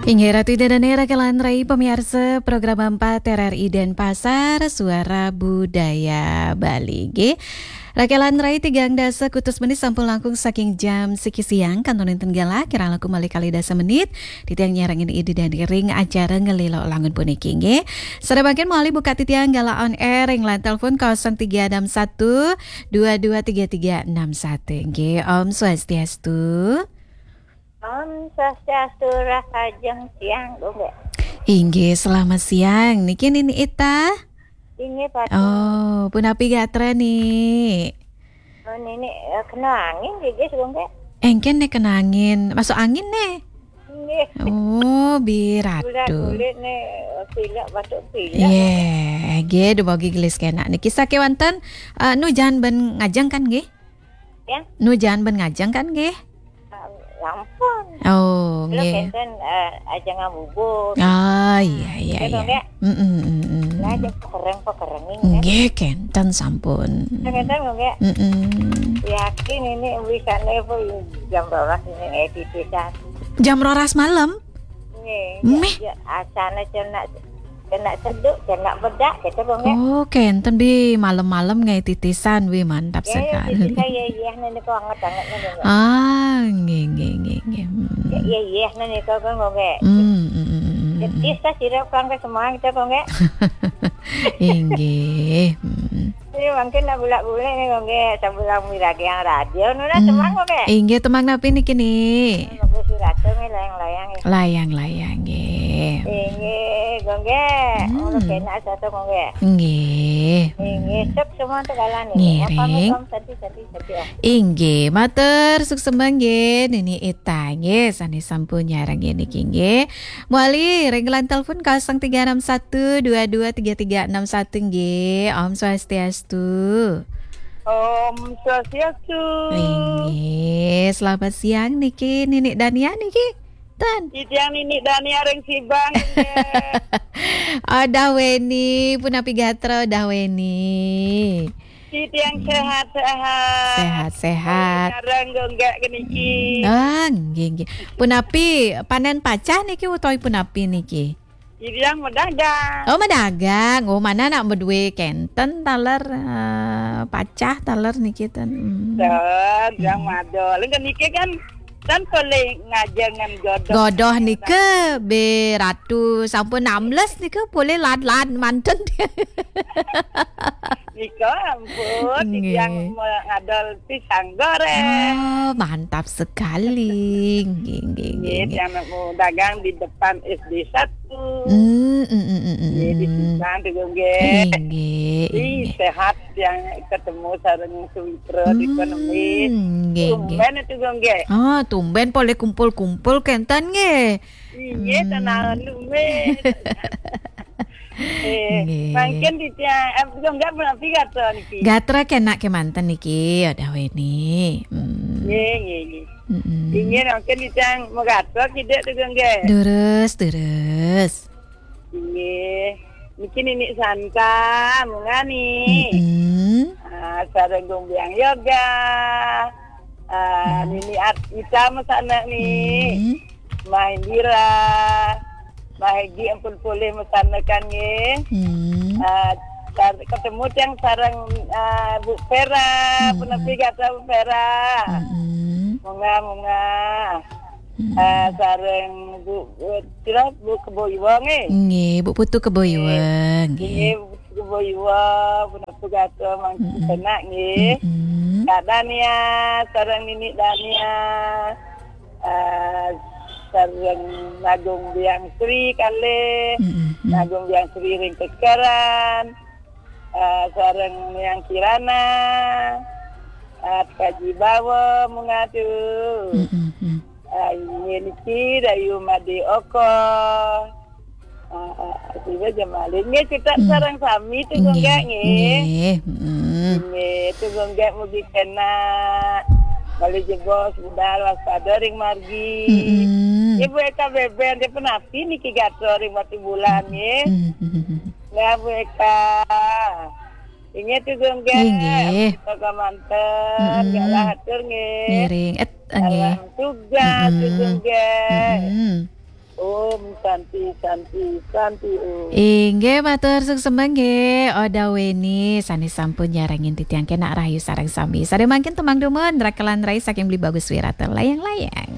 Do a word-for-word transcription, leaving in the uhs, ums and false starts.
Inggih Ratu Ida Dane, rakelan rai pamiarsa Program empat R R I Denpasar, Suara Budaya Bali. Nggih. Rakelan rai, tigang dasa kutus menit sampun langkung saking jam siki siang, kantun wénten galah kirang langkung malih kalih dasa menit titiang nyarengin Ida Dane ring acara Ngelilo Langun puniki, nggih. Sareng mangkin malih buka titiang galah on air ring line telepon kosong tiga enam satu dua dua tiga tiga enam satu, nggih. Om Swastiastu. Om Swastiastu, rahajeng siang, Gung Gé. Inggih, selamat siang. Niki Nini Ita? Inggih, Pak. Oh, punapi gatra, Ni? Oh, Nini, eh, kena angin, gigis, Gung Gé. Éngkén né kena angin. Masuk angin né? Inggih. Oh, biratu. Bulan kulit né, eh, pilek, batuk pilek. Yéh, nggih, dumogi gelis kénak. Niki sakéwanten, eh, nu jaan ben ngajeng kan, nggih? Ya. Nu jaan ben ngajeng kan nggih? Ah, sampun. Oh, kula nggih. Kénten, eh, ajeng ngabubur. Ah, iya, iya, iya. Nggih. Mm-mm, mm-mm. Lah, aja pekereng-pekereng ini, kan? Nggih, kénten sampun. Kénten, nggih. Mm-mm. Yakin ini bisa level jam rolas ini, eh, titisan. Jam rolas malam? Nggih, méh. Ya, ya, asana cenak, cenak seduk, cenak bedak, gitu, Gung Gé. Oh, kénten bi malam-malam nggih titisan, wi mantap sekali. Ya, ya, titisan, ya, ya, niki anget-anget, nggih, Gung Gé. Ah, nggih, nggih, nggih, nggih. Hmm. Ya, ya, ya, niki, Gung Gé. Hmm, hmm, hmm, hmm, hmm. Titisan sira kang kesemang, gitu, Gung Gé. Inggih. Hmm. Ini mungkin nak bulak-bulik nih, Gung Gé, sambil miragi yang radio, nuna hmm, semang, Gung Gé. Inggih, temang napi niki, Ni? Gung Gé Surata nih, layang-layang, ya. Layang-layang, nggih. Inggih, Gung Gé. Hmm. Ngono kénak soto, Gung Gé. Nggih. Inggih, hmm. Sok semua tuh kalan nih. Ngiring. Apa, Om? Sadi, sadi, sadi, Om. Inggih, matur suksma nggih, Nini Ita nggih, sané sampun nyarengin niki nggih. Mawali ring line telepon kosong tiga enam satu dua dua tiga tiga enam satu nggih. Om Swastiastu. Om Swastiastu. Inggih, selamat siang niki, Nini Dania niki. Ten. Titiang Nini Dania ring Sibang nggih. Odah weni, punapi gatra odah weni? Titiang hmm. Sehat-sehat. Sehat-sehat. Sareng Gung Gé niki. Ah, nggih, nggih. Punapi panen pacah niki utawi punapi niki? Titiang madagang. Oh, madagang. Oh, mana nak madué kénten taler, eh, pacah taler niki ten. Hmm. Ten, yang hmm. Madol. Niki kan, kan polih ngajengan godoh. Godoh nika biratu sampun enam belas nika polih lad-lad manten. Nika ampun, nggih. Titiang me-, ngadol pisang goreng. Oh, mantap sekali. Nggih, nggih, nggih, nggih, nggih. Yang mau dagang di depan S D satu. Hmm, hmm, hmm, hmm, hmm. Nggih, di hmm. Pisang tu, nggih. Inggih, ih, inggih. Sehat yang ketemu sareng Suwitra di hmm, ekonomi. Nggih, nggih. Tumben itu, nggih. Ah, tumben polih kumpul-kumpul kénten nggih. Inggih, hmm. Tenang, tumben. Eh, nggih. Mangkin titiang, eh, Gung Gé menapi gatra niki? Gatra kénak kémanten niki, odah weni. Hmm. Nggih, nggih, nggih. Mm-mm. Inggih, mangkin titiang magatra kidik tu, Gung Gé. Durus, durus. Inggih. Niki Nini Santa, munggah ni. Mm-mm. Ah, sareng Gung Biang Yoga. Ah, hmm. Nini At-, Ita masana ni. Hmm. Mahendra, Mahegi ampun polih masana kan nggih. Hmm. Ah, tar-, ketemu tiang sareng, ah, Bu Vera, hmm. Punapi gatra Bu Vera. Hmm. Munggah, munggah. Hmm. Ah, sareng Bu, Bu, sira Bu Kebo Iwa nggih. Nggih, Bu Putu Kebo Iwa nggih. Nggih, Bu Putu Kebo Iwa, punapi gatra mangkin mm-mm. Penak nggih. Mm-mm. Kak Dania, sareng Nini Dania. Ah, sareng Nagung Biang Sri kalih, mm-mm. Nagung Biang Sri ring Kekeran, ah, sareng Yang Kirana, ah, Kaji Bawa munggah tu. Mm-mm. Ah, inggih niki Dayu Made Oko. Ah, ah, tiba jam malih. Nggih, kita hmm. Sareng sami tu Gung Gé nggih. Nggih. Nggih, hmm. Nggih, tu Gung Gé mugi kénak. Malih jebos budal waspada ring margi. Hmm. Ibu Eka Beben, dia penapi niki gatra ring Batubulan nggih. Hmm. Nggih, Bu Eka. Inggih tu Gung Gé. Inggih. Kita kamanten, hmm. Galah atur nggih. Ngiring. Et, nggih. Salam tugas tu Gung Gé. Hmm. Om Santi, Santi, Santi Om. Inggih, matur suksma nggih, Oda Weni, sané sampun nyarengin titiang kenak rahayu sareng sami. Sadaya mangkin tembang dumun, Rakelan Rai saking Beli Bagus Wirata, Layang-Layang.